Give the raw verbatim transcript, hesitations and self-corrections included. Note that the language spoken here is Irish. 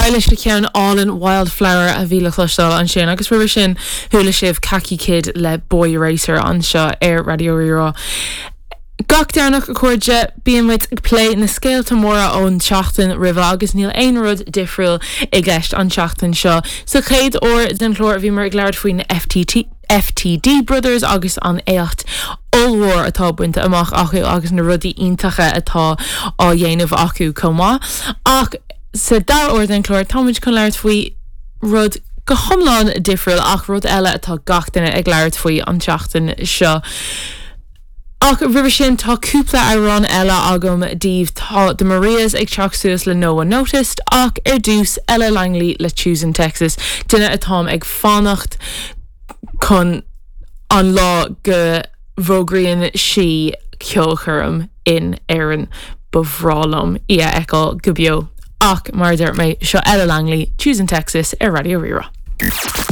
Eilish le ceann álainn Wildflower a bhí le cloisteáil ansin agus roimhe sin chuala sibh Kaki Kid le Boy Racer anseo ar Raidió Rí-Rá. Gach Domhnach a chairde bíonn muid ag plé na scéalta móra ón tseachtain roimhe agus níl aon rud difriúil i gceist an tseachtain seo. Sa chéad uair den chlár bhíomar ag labhairt faoin FTT. FTD Brothers agus an éacht ollmhór atá bainte amach acu agus na rudaí iontacha atá á dhéanamh acu chomh maith. Ach sa dara huair den chlár táimid chun labhairt faoi rud go hiomlán difriúil ach rud eile atá gach duine ag labhairt faoi an tseachtain seo. Ach roimhe sin tá cúpla amhrán eile agam daoibh tá The Marias ag teacht suas le No One Noticed ach ar dtús Ella Langley le Choosing Texas duine atáim ag fanacht chun an lá go bhfógraíonn sí ceolchoirm in Éirinn ba bhreá liom í a fheiceáil go beo. Ach mar a deir mé seo Ella Langley, Choosing Texas ar Raidió Rí-Rá.